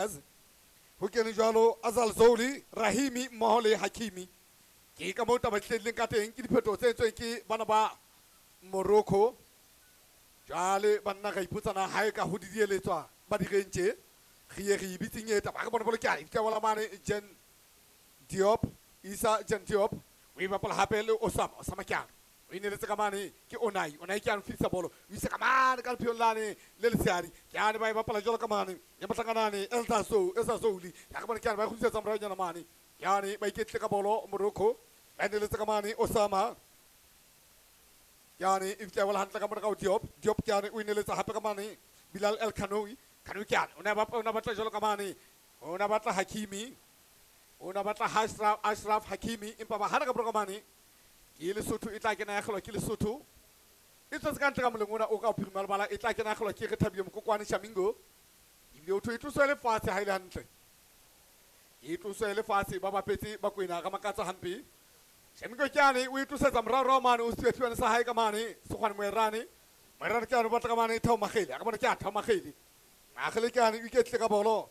Ho kene jwalo Azal Zouli, Rahimi mmoho le Hakimi. Ke ka moo taba e tlileng ka teng, ke diphetoho tse entsweng ke bana ba Morocco. Jwale banna ra ipotsana ha e ka ho didieletswa ba direng tje. Re ye re e bitseng e taba. Ha re bone bolo ke a e wala mane Jen Diop, Isa Jen Diop. O e bapala hape le Osama, Osama ke a o ineletse ka mane ke Onai, Onai ke a fitisa bolo, o isa ka mane ka lepheong lane le letshehadi. Ke ane ba e bapala jwalo ka mane ya mohlankanane Elsa So, Elsa Zouli. Ya re bone ke ane ba e kgutlisetsa moraonyana mane. Ke ane ba iketlile ka bolo Morocco, ba ineletse ka mane Osama. Ke ane e fihla e wela hantle ka mona ka ho Diop, Diop ke ane o ineletsa hape ka mane Bilal El Kanoui. Kanoui ke ane o ne a batla jwalo ka mane, o ne a batla Hakimi, o ne a batla Ashraf Hakimi, empa ba hana ka mora ka mane. Ke Lesotho e tla kena ya kgelwa ke Lesotho. E tswetse ka ntle ka moleng ona o ka phirima lebala, e tla kena ya kgelwa ke Rethabile Mokokwane Shamingo. Ebile o thwe e tloswe le fatshe ha e le hantle. E tloswe le fatshe ba bapetse ba kwena ka makatsa hampe. Shamingo ke ane o e tlosetsa moraorao mane, o siwa sa hae ka mane, Sekgwane Moerane. Moerane ke ane o batla ka mane Thabo Makgele. A ka bona ke a Thabo Makgele. Makgele ke ane o iketlile ka bolo.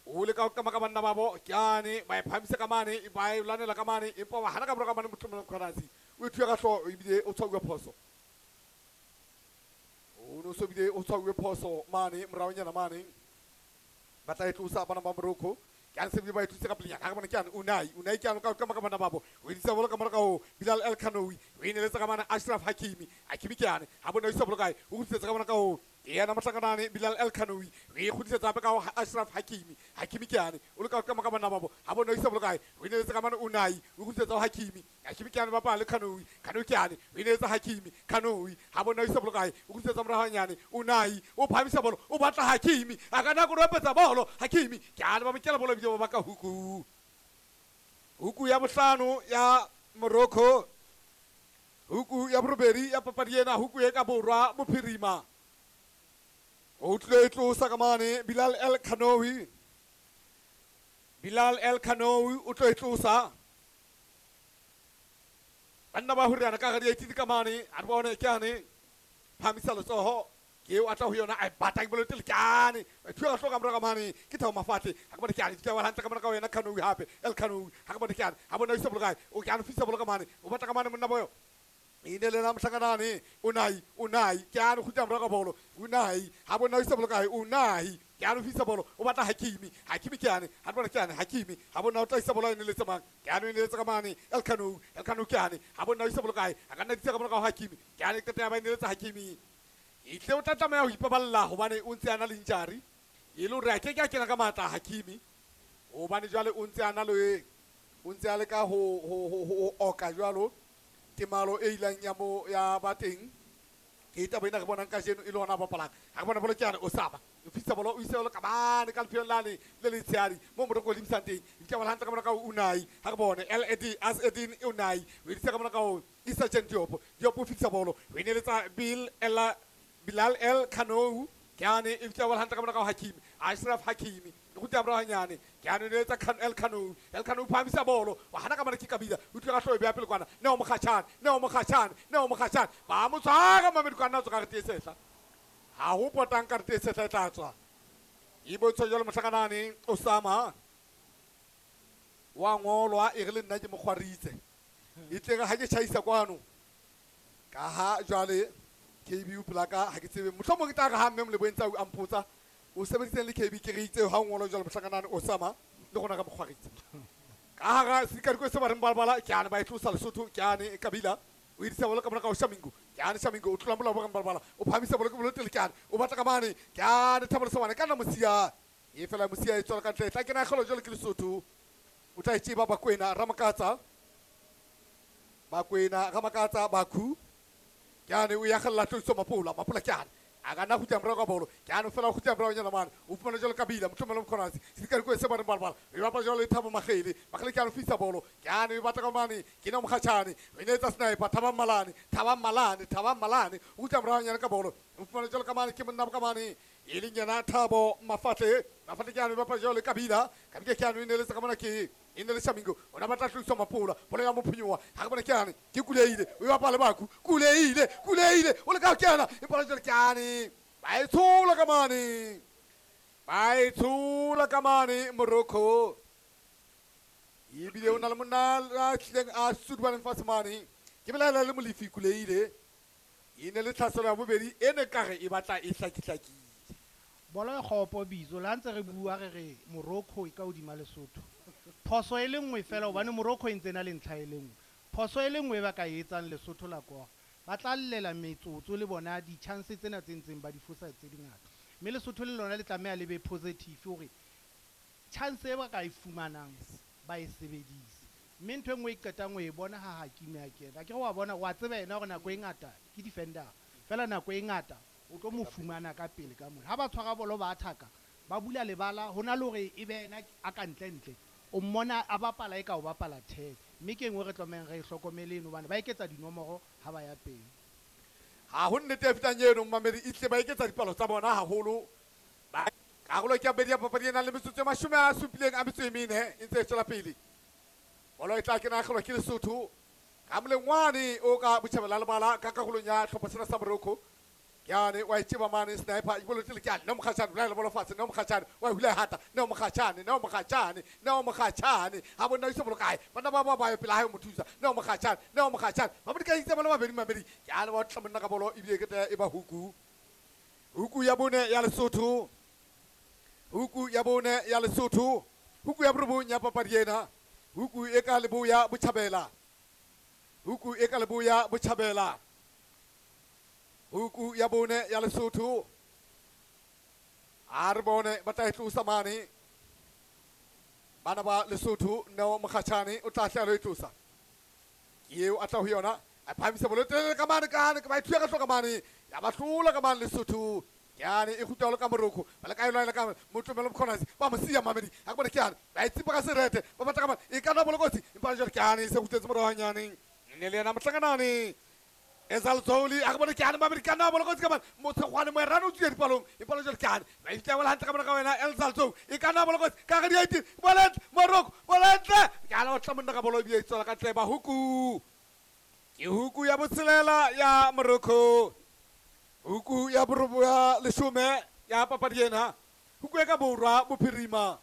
O leka ho kama ka banna babo, ke ane ba e phahamisa ka mane, ba e lwanela ka mane, empa ba hana ka mora ka mane Motlomelo Mkhwanazi. O e thuya ka hlooho ebile o tshwauwe phoso. O no so bile o tshwauwe phoso mane moraonyana mane. Ba tla e tlosa bana ba Morocco. Ke ane se bile ba e tlositse ka pelenyana. Ha re bone ke ane Unai, Unai ke ane o ka kama ka banna babo. O edisa bolo ka mora ka ho Bilal El Kanoui. O ineletsa ka mane Ashraf Hakimi. Hakimi ke ane ha bona o isa bolo kae? O kgutlisetsa ka mona ka ho yena mohlankanane Bilal El Kanoui. O e kgutlisetsa hape ka ho Ashraf Hakimi. Hakimi ke ane o leka ho kama ka banna babo. Ha bona o isa bolo kae? O ineletsa ka mane Unai. O kgutlisetsa ho Hakimi. Hakimi ke ane bapala le Kanoui. Kanoui ke ane o ineletsa Hakimi. Kanoui ha bona o isa bolo kae? O kgutlisetsa morao hanyane. Unai o phahamisa bolo, o batla Hakimi. A ka nna koropetsa bolo. Hakimi ke ane ba mokela bolo ebile ba baka huku. Huku ya bohlano ya Morocco. Huku ya borobedi ya papadi ena, huku e ka borwa bophirima. O tlilo e tlosa ka mane Bilal El Kanoui. Bilal El Kanoui o tlo e tlosa. Banna ba horiana ka gare di ka mane, a re bone ke ane phahamisa letsoho. Ke eo a tla ho yona, a e batla ke bolo tele ke ane. Ba thuya ka hlooho ka mora ka mane, ke Thabo Mafatle. Ha ke bone ke ane, di tla wela hantle ka mora ka ho yena Kanoui hape, El Kanoui. Ha ke bone ke ane, ha bona o isa bolo kae? O ke ane o fihla bolo ka mane, o batla ka mane monna boyo. E ne le la mohlankanane Unai, Unai ke ane kgutla morao ka bolo. Unai ha bona o isa bolo kae? Unai ke ane o fihla bolo, o batla Hakimi. Hakimi ke ane, ha bona ke ane Hakimi. Ha bona o tla isa bolo e ne le tsamang. Ke ane o ineletse ka mane El Kanoui, El Kanoui ke ane. Ha bona o isa bolo kae? A ka nna ditse ka mora ka ho Hakimi. Ke ane qete ya ba ineletse Hakimi. E tle o tla tlameha ho ipaballa hobane o ntse a na le injury. E le hore a ke ke a kena ka matla Hakimi. Hobane jwale o ntse a na le, o ntse a leka ho oka jwalo temalo e ilang ya mo ya ba teng. Ke taba ena re bonang kajeno e le hona bapalang. Ha re bona bolo ke ane Osama. O fihla bolo o isa bolo ka mane ka lepheong lane le letshehadi moo Morocco o lebisang teng. E tla wela hantle ka mona ka ho Unai. Ha re bone El Edi As Edin Unai. O edisa ka mona ka ho Issa Jen Diop. Diop o fihla bolo. O ineletsa Bill Ella Bilal El Kanoui. Ke ane e fihla wela hantle ka mona ka ho Hakimi. Ashraf Hakimi. E kgutla morao hanyane. Ke ane o ineletsa El Kanoui. El Kanoui o phahamisa bolo. Wa hana ka mane ke Kabila. O tlile ka hlooho e beha pele kwana. Neo Mokgatjhane, Neo Mokgatjhane, Neo Mokgatjhane. Ba mo tshwara Mamedi kwana tswa karete e sehla. Ha ho potang karete e sehla e tla tswa. E bontsha jwalo mohlankanane Osama. Wa ngolwa e re le nna ke mo kgwaritse. E tle re ha ke tjhaisa kwano. Ka ha jwale KB o pela ka ha ke tsebe. Mohlomong ke tla re ha mme Moleboheng Tsau a mpotsa o sebeditseng le KB ke re itse ha o ngolwa jwalo mohlankanane Osama le rona ka mo kgwaritse. Ka hara sedikadiko se ba reng balabala ke ane ba e tlosa Lesotho ke ane Kabila o edisa bolo ka mora ka ho Shamingo. Ke ane Shamingo o tlola molao bo reng balabala o phahamisa bolo ke bolo tele ke ane o batla ka mane ke ane Thabo Lesobane ka nna Mosia. E fela Mosia e tswela ka ntle e tla kena kgelo jwalo ke Lesotho. O tla e tseba Bakwena Ramakatsa. Bakwena Ramakatsa Bakhu. Ke ane o ya kgella tloiso Mapola. Mapola ke ane a ka nna kgutla morao ka bolo. Ke ane fela o kgutla morao nyana mane. O fumana jwalo Kabila Motlomelo Mkhwanazi. Sedikadiko se ba reng balabala. E bapala jwalo le Thabo Makgele. Makgele ke ane o fihla bolo. Ke ane e batla ka mane. Ke nna Mokgatjhane. O inetsa sniper Thabang Malane. Thabang Malane, Thabang Malane. O kgutla morao nyana ka bolo. O fumana jwalo ka mane ke monna ka mane. E leng yena Thabo Mafatle. Mafatle ke ane e bapala jwalo le Kabila. Kabila ke ane o ineletse ka mona ke e ne le Shamingo. O na batla tloiswa Mapola. Bolo ya mophonyowa. Ha re bone ke ane ke Kuleile. O e bapala le Bakhu. Kuleile, Kuleile. O leka ho kena. Empa jwale ke ane ba e tshola ka mane. Ba e tshola ka mane Morocco. Ebile o na le monna a tlileng a sudubaneng fatshe mane. Ke belaela le Molefi Kuleile. E ne le tlhaselo ya bobedi e ne kare e batla e hlakihlakile. Bolo e kgopo bitso le ha ntse re bua re re Morocco e ka hodima Lesotho. Phoso e le nngwe fela hobane Morocco e ntse na le ntlha e le nngwe. Phoso e le nngwe e ba ka e etsang Lesotho la kora. Ba tla llela metsotso le bona di-chance tsena tse ntseng ba di fosa tse dingata. Mme Lesotho le lona le tlameha le be positive hore chance e ba ka e fumanang ba e sebedise. Mme ntho e nngwe e qetang ho e bona ha Hakimi a kena. Akere wa bona wa tseba yena hore nako e ngata ke defender. Feela nako e ngata o tlo mo fumana ka pele ka mona. Ha ba tshwara bolo ba attack-a, ba bula lebala ho na le hore e be yena a ka ntle ntle. O mmona a bapala e ka o bapala 10. Mme ke e nngwe re tlamehang re e hlokomele eno hobane ba eketsa dinomoro ha ba ya pele. Ha ho nnete e fetang eno mamedi e tle ba eketsa dipalo tsa bona haholo. Ba karolo ke ya bobedi ya papadi e nang le metsotso e 74 e ntse e tswela pele. Bolo e tla kena kgelwa ke Lesotho ka molengwane o ka botjhabela lebala ka karolong ya hlopha sena sa Morocco. Yane wa itseba mane sniper ibolo tle ke no mokgatjhane bolaela bolo fatshe no mokgatjhane wa hula hata no mokgatjhane no mokgatjhane no mokgatjhane ha bona iso bolo kae bana ba ba ba pela hae mo thusa no mokgatjhane no mokgatjhane ba mo dikaitse bolo mabedi mabedi ke ana ba tla monna ka bolo ebile ke tla e ba huku huku ya bone ya Lesotho huku ya bone ya Lesotho huku ya borobong ya papadi ena huku e ka leboya botjhabela huku e ka leboya botjhabela huku ya bone ya Lesotho a re bone ba tla e tlosa mane bana ba Lesotho no mokgatjhane o tla hla e tlosa ke eo a tla ho yona a phahamisa bolo telele ka mane kane ba e thuya ka hloka mane ya ba hlola ka mane Lesotho ke e kgutla ka Morocco ba le ka elwa ka motlomelo mkhonasi ba mo siya mamedi ha ke bone ke ba e tsipa ka serete ba batla ka mane e kana bolo kotsi empa jwale ke ane se kgutletse morao hanyane ne le yena mohlanganane Ezalzoli a ke bone ke ane mamedi kana bolo kotsi ka mane motshegwane moerane o tswile dipalong empa jwale ke ane ba e fitla hantle ka mona ka wena Elzalzou e kana bolo kotsi ka ga di 18 bolentle Morocco bolentle ke ane o tla monna ka bolo ebile e tswela ka ntle ba huku ke huku ya botshelela ya Morocco huku ya borobo ya leshome ya papadi ena huku e ka borwa bophirima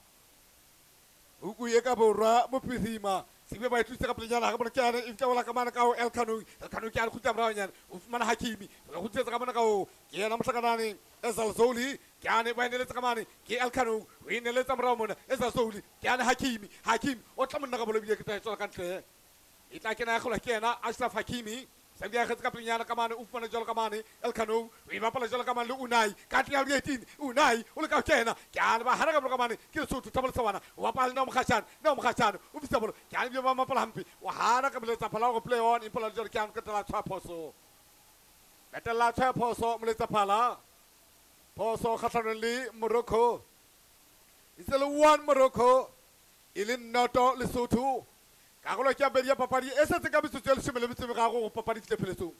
huku e ka borwa bophirima sebe ba e tlositse ka pelenyana ga bone ke ane e fitla bola ka mane ka ho Elkano Elkano ke ane kgutla moraonyana o fumana Hakimi o kgutlisetsa ka mona ka ho ke yena mohlakanane Ezalzoli ke ane ba eneletsa ka mane ke Elkano o eneletsa morao mona Ezalzoli ke ane Hakimi Hakimi o tla monna ka bolo ebile ke tla e tswela ka ntle e tla kena ya kgolwa ke yena Ashraf Hakimi Sabia akgetse ka pelenyana ka mane o fumana jwalo ka mane Elkano o e bapala jwalo ka mane le Unai ka ntle ya 18 Unai o leka ho kena ke ane ba hana ka bolo ka mane ke Lesotho Thabo Lesawana o bapala le Neo Mokgatjhane Neo Mokgatjhane o fisa bolo ke ane ebile ba mapala hampe o hana ka moletsa phala hore play on empa jwale ke ane qetela tshwaya phoso qetella tshwaya phoso moletsa phala phoso kgahlanong le Morocco e se le 1 Morocco e le 0 Lesotho karolo ke ya bobedi ya papadi e setse ka metsotso e 13 gore papadi e fihle pheletsong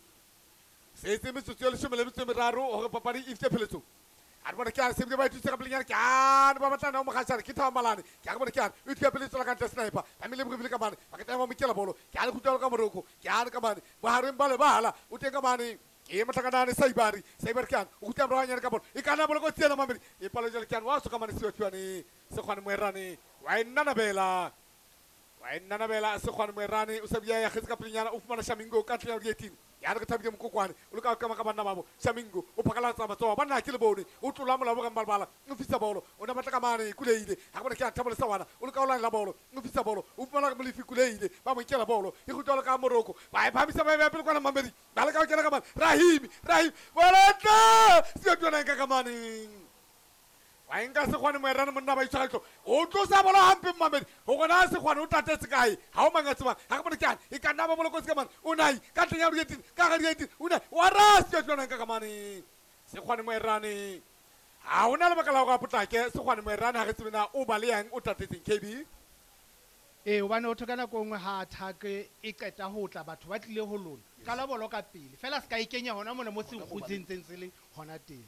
setse metsotso e 13 gore papadi e fihle pheletsong a re bone ke ane sebile ba ithutse ka pelenyana ke ane ba batla nao mokgatjhane ke Thabo Malane ke a re bone ke ane o ithuya pele tswela ka ntle sniper ba mele bobile ka mane ba ketla ba mokela bolo ke ane kgutla ka Morocco ke ane ka mane bohareng ba lebala o teng ka mane ke mohlakanane Saibari Saibari ke ane o kgutla morao ka bolo e kana bolo kotsi ena mamedi e palo jwale ke ane wa soka mane Seothwane Sekgwane Moerane wa e nnanabela wa e nnanabela Sekgwane Moerane o sa bia ya kgetse ka pelenyana o fumana Shamingo ka ntle ya 18 ya re ke thabile mokokwane o leka ho kama ka banna babo Shamingo o phakalatsa matsoho banna ke le bone o tlola molao ka mbalabala o fisa bolo o na batla ka mane Kuleile ha ke bone ke a Thabo Lesawana o leka ho lwanela bolo o fisa bolo o fumana Molefi Kuleile ba mo nkela bolo e kgutla ka Morocco ba e phamisa ba e beha pele kwana mamedi ba leka ho kena ka mane Rahimi Rahimi bolentle Seothwane ka mane wa nka Sekgwane Moerane monna ba itshwara tlo o tlosa bolo hampe mamedi ho gona Sekgwane o tatetse kae ha o mang a tsebang ha ke bone ke ane e ka nna ba bolo kotsi ka mane Unai ka ntleng ya 18 ka ga 18 Unai wa ra Seothwane ka mane Sekgwane Moerane ha hona lebaka la hore a potlake Sekgwane Moerane ha re tsebe na o ba le yang o tatetseng KB ee hobane o thoka nako nngwe ha attack e qeta ho tla batho ba tlile ho lona qala bolo ka pele fela se ka e kenya hona mona mo se kgutsentseng se le hona teng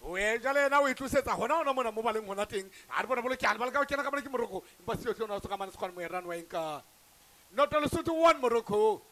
o e jwale yena o e tlosetsa hona hona mona mo ba leng hona teng a re bona bolo ke ane ba leka ho kena ka mane ke Morocco empa Seothwane o so ka mane Sekgwane Moerane wa e nka 0 Lesotho 1 Morocco